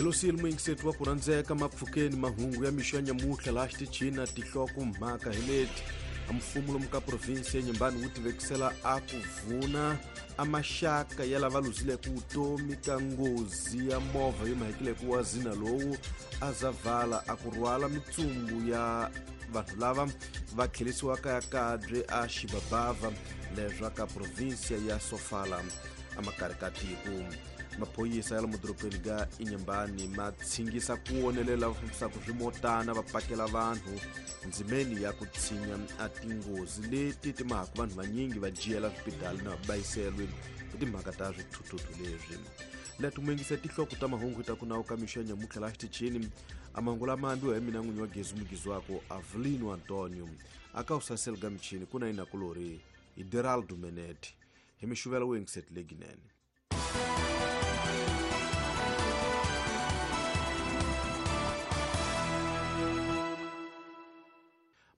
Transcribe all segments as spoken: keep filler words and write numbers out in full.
Helosile muyingiseti wa ku rhandzeka mapfukeni mahungu ya mixo ya nyamuhla laha xitichini na tinhloko mhaka hi leti. A mfumo lomu ka provinsi ya Inhambane wu tivekisela a ku vuna a maxaka ya lava luzileke vutomi ka nghozi ya movha yo mahekileke wa zina lowu a Zavala a ku rhwala mitsumbu ya vanhu lava va tlherisiwaka ya kabye a Xibabava leswa ka provinsia ya Sofala a makari ka tiko. Maphorisa ya le madorobeni ga Inhambane ma tshingisa ku onelela va fambisaka swimotana va pakela vanhu ndzimeni ya ku tshinya a tinghozi leti ti mahaka vanhu vanyingi va jiyela swipidali na vabayiselwe hi timhaka ta swithuthuthu leswi. Leti muyingisa tinhloko ta mahungu ta ku nawu ka mixo ya nyamutlha laha xitichini a mahungu lama ambiwa hi mina n'winyi wa gezi mugizi wako Avelino Antonio aka u sasel ga michini ku na inakulori hi Deraldo Menete hi mixuvela wu yingiseti leginene.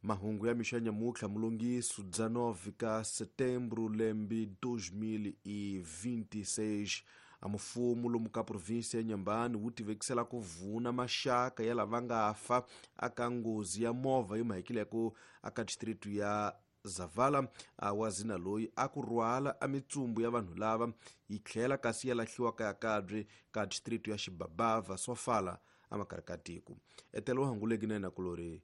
Mahungu ya mixo ya nyamutlha mulungiso dezenove ka setembro lembe dois mil e vinte e seis. A mfumo lomu ka provinsi ya Inhambane wu tivekisela ku vuna maxaka ya lava nga fa aka nghozi ya movha yo mahekileko aka distritu ya Zavala a wa zina loyi a ku rhwala a mitsumbu ya vanhu lava yi tlhela kasi ya lahliwaka ya kabye ka distritu ya Xibabava Sofala a makari ka tiko. Etelo hanguleki na kulori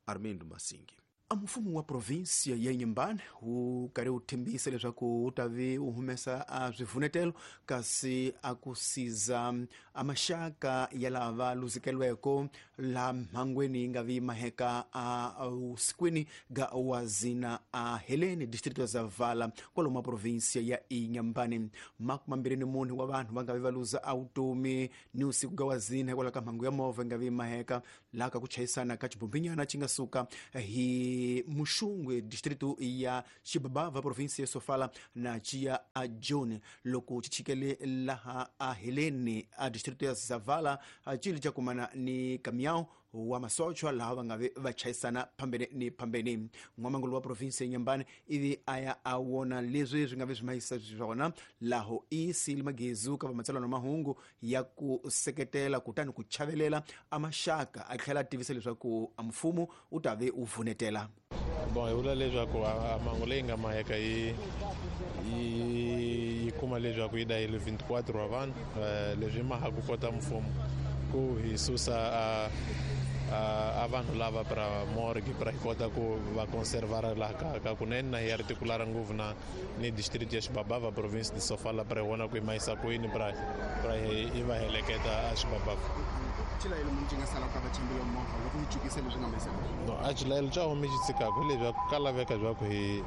Armindo Masingi. A mfumo wa provinsia ya Inhambane wu karhi wu thembisa leswaku wu ta vi wu humesa a swivunetelo kasi a ku siza a maxaka ya lava luzikelweko la mhangweni yi nga vi maheka a usikwini ga wazina a Helene distrito ya Zavala kwalomu a provinsia ya Inhambane. Makumi mambirhi ni mune wa vanhu va nga vi va luza a vutomi ni usiku ga wazina hikwalaho ka mhangu ya movha yi nga vi maheka laha ka ku chayisana ka xibombinyana xi nga suka hi Muxungwe distrito ya Xibabava provinsia ya Sofala na Chia a John loko xi chikele laha a Helene a distrito ya Zavala chili xa kumana ni kamiao wa masochwa laha va nga vi va chayisana phambeni ni phambeni. N'wamangulu wa provinsi ya Inhambane ivi a ya a wona leswi swi nga vi swi mahisa swona laho i sili magezu ka vamatsalana mahungu ya ku seketela kutani ku chavelela a maxaka a tlhela a tivisa leswaku a mfumo wu ta ve wu vunetela. Bon, hi vula leswaku a mhangu leyi nga maheka yi yi kuma leswaku yi dayile vinte e quatro wa vanhu leswi mahaku kota mfumo ku hi susa a a vanhu lava pra morgue pra hi kota ku va conservar laha ka ka kunene na hi articular ngopfu na ni district ya Xibabava province de Sofala pra hi vona ku hi mahisa kwini pra pra hi va heleketa a Xibabava. Xilayelo munhu xi nga sala ka vachambeli movha loko yi jukisa leswi nga mahisa no a xilayelo xa homi xi tshikaka hi leswaku ka laveka leswaku hi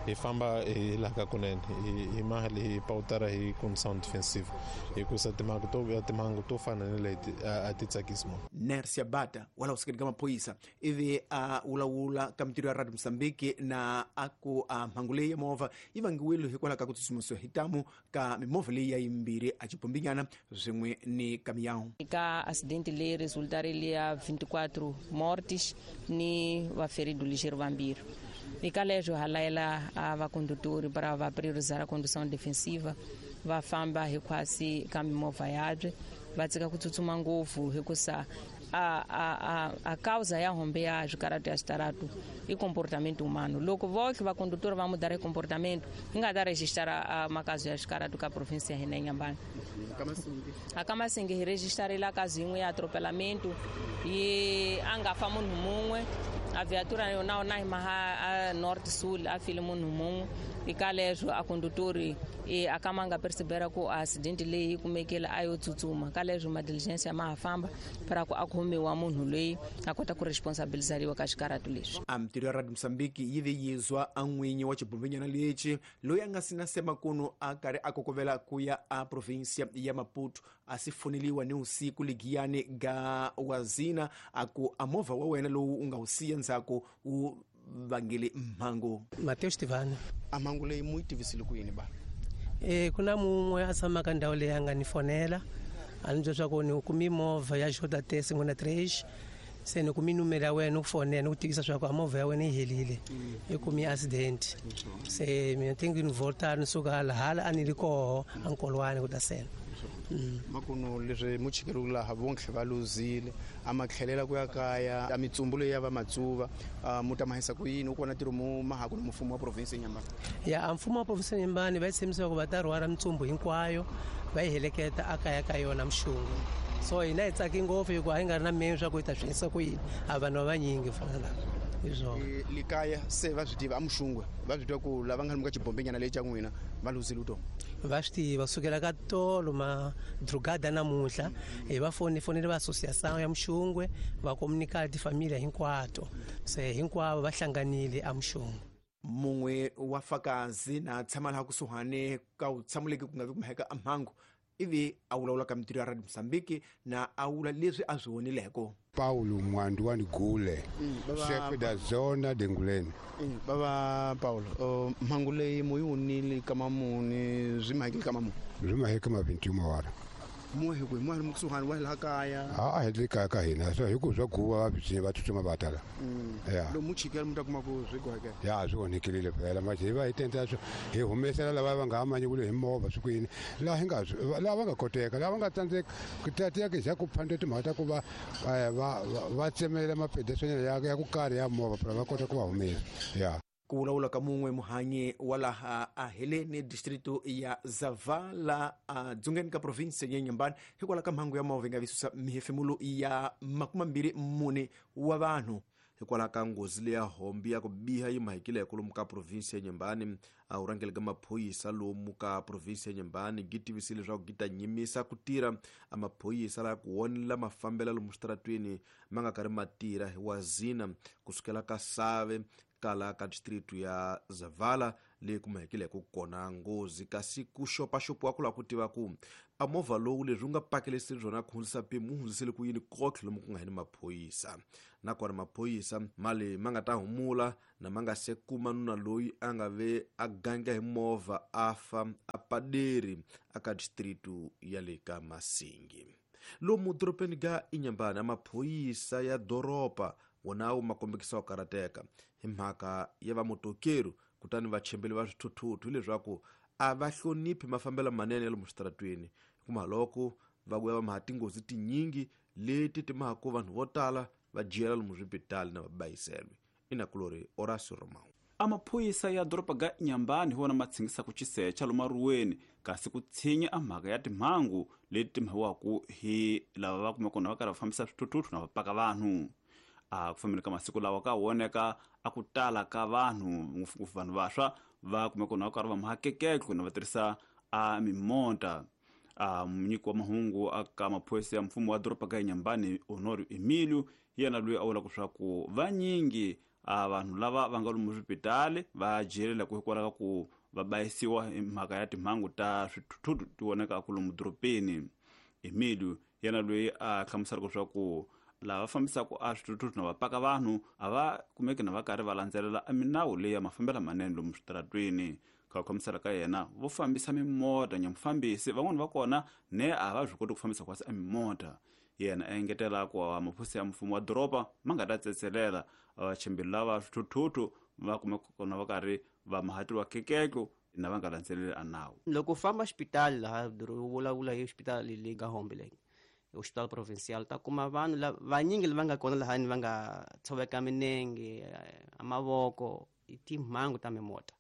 hi famba hi laha ka kunene hi hi mali hi pawutara hi condition defensive hikusa timhangu to timhangu to fana ni leti a ti tsakisi munhu. Nersia Bata wala usikeni ka maphorisa ivi a vulavula ka mitirho ya Radio Mozambique na a ku a mhangu leyi ya movha yi vangiwile hikwalaho ka ku tsutsumisiwa hi tamu ka mimovha leyi ya yimbirhi a xibombinyana swin'we ni kamiyawu. Ka acidente leyi resultarile ya vinte e quatro mortes ni vaferido ligeiro vambirhi. Eka leswo ha layela a vakondutori para va priorizar a condução defensiva va famba hinkwasi ka mimovha yabye va tshika ku tsutsuma ngopfu hikusa a a a a causa ya hombe ya swikaratu ya switaratu i comportamento humano. Loko voxe vakondutori va mudara comportamento hi nga ta registara a makazi ya swikaratu ka provinsia ya hina Inhambane. A ka Masingi hi registarile kazi yin'we ya atropelamento yi a nga fa munhu mun'we a viatura yona na hi maha a north sul a file munhu mun'we eka leswo a condutori e a ka ma nga percebera ku accident leyi yi kumekile a yo tsutsuma ka leswo ma diligence ya ma ha famba para ku a khomiwa munhu loyi a kota ku responsabilizariwa ka xikaratu leswi. A mitirho ya Radio Mozambique yi ve yizwa a n'winyi wa xibombinyana lexi loyi a nga sina semakunu a karhi a kokovela ku ya a provinsia ya Maputo a si foneliwa ni usiku ligiyani ga wazina a ku a movha wa wena lowu u nga wu siya ndzhaku wu vangele mhangu. Mateus Tivani. A mhangu leyi mu yi tivisile ku yini ba? Eh ku na mun'we a tshamaka ndhawu leyi a nga ni fonela a ni byela swa ku ni kumi movha ya J T cinquenta e três se ni kumi numero ya wena u fonela ni ku tivisa swa ku a movha ya wena yi helile i kumi accident se mina tingi ni volta ni suka hala hala a ni ri koho a Nkolwane ku ta sena. Makuno leswi muchikeri laha vonke va luzile a matlhelela ku ya kaya a mitsumbu leyi ya va matsuva mu ta mahisa ku yini u kona ntirho mu mahaku ni mfumo wa province Inhambane ya a mfumo wa province Inhambane va tshembisa ku va ta rhwala mitsumbu hinkwayo va yi heleketa a kaya ka yona Mxungwe so hina hi tsaki ngopfu hikuva a yi nga ri na menu swa ku hi ta swi endlisa ku yini a vanhu va vanyingi fana na izwo likaya se va swi tiva aMxungwe va swi tiva ku lava nga ka xibombenyana leyi xa n'wina va luzile vutomi va swi tiva sukela ka tolo ma drugada namuntlha hi va foni fonele va association ya Mxungwe va communicate tifamiliya hinkwato se hinkwavo va hlanganile aMxungwe mun'we wa fakazi na tshama laha kusuhani ka u tshamuleki ku nga vi kumeka amhangu ivi a vulavula ka mintirho ya Radio Mozambique na a vula leswi a swi vonileko. Paulo Mwandu wa Ngule, chef da zona de Nguleni. Baba Paulo, mhangu leyi mu yi wonile ka mamuni swi mahekile ka mamuni? Swi maheke ma vinti mawara. Muhe kwihi? Muhe ri kusuhani wa laha kaya? A a hi le kaya ka hina, so hi ku swa guva va va tsutsuma va tala. Ya. Lomu muchikeli mu ta kuma ku swi gohekela? Ya, swi onhekile phela manje hi va hi tendla swo hi humesela lava va nga hamanyikule hi movha swi ku yini laha hi nga lava va nga koteka lava nga tsandzeka ku tatiya ke xa ku phanda timhaka ta ku va va va tsemela mapedesanyana ya ya ku karhi ya movha phela va kota ku va humesa. Ya. Ku vulavula ka mun'we muhanyi wa laha a Heleni distrito ya Zavala a dzongeni ka province ya Inhambane hikwalaho ka mhangu ya movha yi nga vi susa mihefemulo ya makumambirhi mune wa vanhu. Hikwalaho ka nghozi leya hombi ya ku biha yi mahekile lomu ka province ya Inhambane a wu rhangele ka maphorisa lomu ka province ya Inhambane gi tivisile leswaku gi ta nyimisa ku tirha a maphorisa laha ku wonela mafambelo lomu switaratweni ma nga karhi ma tirha hi wazina kusukela ka Save kala ka distrito ya Zavala leyi kumekile ku kona nghozi kasi ku xopaxopiwa ku lava ku tiva ku a movha lowu leswi wu nga pakelesi byona ku hundzisa mpimo wu hundzisele ku yini kotlhe lomu ku nga heni maphorisa nakona maphorisa mali ma nga ta humula na ma nga se kuma nuna loyi a nga ve a ganga hi movha a fa a paderi aka distrito ya le ka Masingi lomu dorobeni ga Inhambane a maphorisa ya doroba wona wu ma kombekisa ku karateka hi mhaka ya vamotokeru kutani vachembeli va swithuthuthu hileswaku a va hloniphi mafambelo manene ya lomu switaratweni hikuva loko va vuya va maha tinghozi tinyingi leti ti mahaku vanhu vo tala va jiyela lomu swipitali na vabayiselwe inakulori Horacio Romão. A maphorisa ya doroba ga Inhambane hi wona ma tshingisaka xisecha lomu maruweni kasi ku tshinya a mhaka ya timhangu leti timhiwaku hi lava va kumeka na va karhi va fambisa swithuthuthu na va paka vanhu. A ku fambeni ka masiku lawa ka voneka a ku tala ka vanhu ngopfungopfu vanhu vantshwa va kumeka na va karhi va mahakekeko na va tirhisa a mimonta. A munyiki wa mahungu aka maphorisa ya mfumo wa doroba ga Inhambane Honório Emílio yena loyi a vulaka leswaku vanyingi a vanhu lava va nga lomu swipitali va jelela ku hikwalaho ka ku va bayisiwa hi mhaka ya timhangu ta swithuthuthu ti vonekaka lomu dorobeni. Emílio yena loyi a hlamuselaka leswaku lava fambisaka a swithuthuthu na va paka vanhu a va kumeki na va karhi va landzelela a minawu leyi ya mafambelo manene lomu switaratweni. Ka khomisela ka yena vo fambisa mimota nyamufambisi van'wani va kona ne a va swi koti ku fambisa kwasi a mimota. Yena a engetela ku maphorisa ya mfumo wa doroba ma nga ta tsetselela vachembeli lava swithuthuthu va kumeka kona va karhi va mahatiwa kekeko na va nga landzeleli a nawu. Loko u famba xipitali laha vulavula hi xipitali leyi nga hombe leyi hospital provincial ta kuma vanhu vanyingi lava nga kona lahani va nga tshoveka minenge a mavoko i timhangu ta mimota.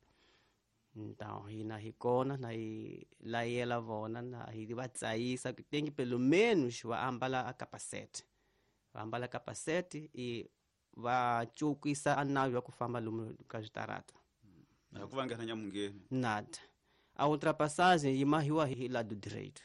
Então hina hi kona na hi layela vona na hi va tsayisa ku tengi pelo menos va ambala a capacete va ambala capacete e va cukisa a nawu ya ku famba lomu ka switarata na ku va nghena nyamungeni nada a ultrapassagem yi mahiwa hi lado direito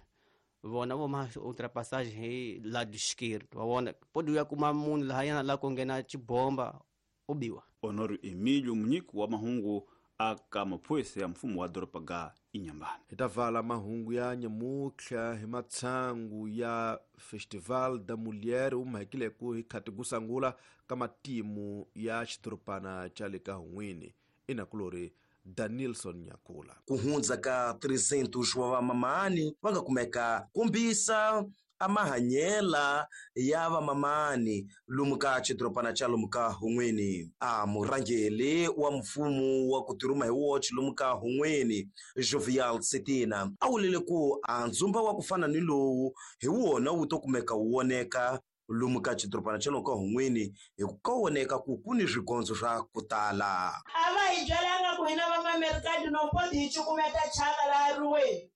vona vo ma ultrapassagem hi lado esquerdo va vona pode ya kuma munhu lahayana la ku nghena xibomba u biwa. Honório Emílio munyiki wa mahungu aka maphorisa ya mfumo wa doroba ga Inhambane. Hi ta vala mahungu ya nyamutlha hi matshangu ya Festival da Mulher wu mahekile ku hi khati ku sangula ka matimu ya xidorobana xa le ka Hun'wini inakulori Danilson Nyakula. Ku hundza ka trezentos wa vamamani va nga kumeka kombisa a mahanyela ya vamamani lomu ka xidorobana xa lomu ka Hungweni. A murhangeri wa mfumo wa ku tirhuma hi woxe lomu ka Hungweni, Jovial Setina, a vulile ku a ndzumba wa ku fana ni lowu hi wona wu to kumeka wu voneka lomu ka xidorobana xa lomu ka Hungweni hi ku ka voneka ku ku ni swigondzo swa ku tala. A va hi byelanga ku hina vamamerikati no poti hi cukumeta chaka laha riweni.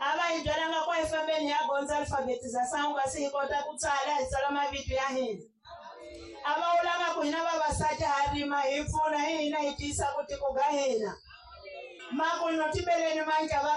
A va hi byelanga ku hi fambeni hi ya gondza alfabetização kasi hi kota ku tsala hi tsala mavito ya hina. A va vulanga ku hina vavasati ha rima hi pfuna hi hina hi tiyisa ku tiko ga hina. Maku no tibeleni manja va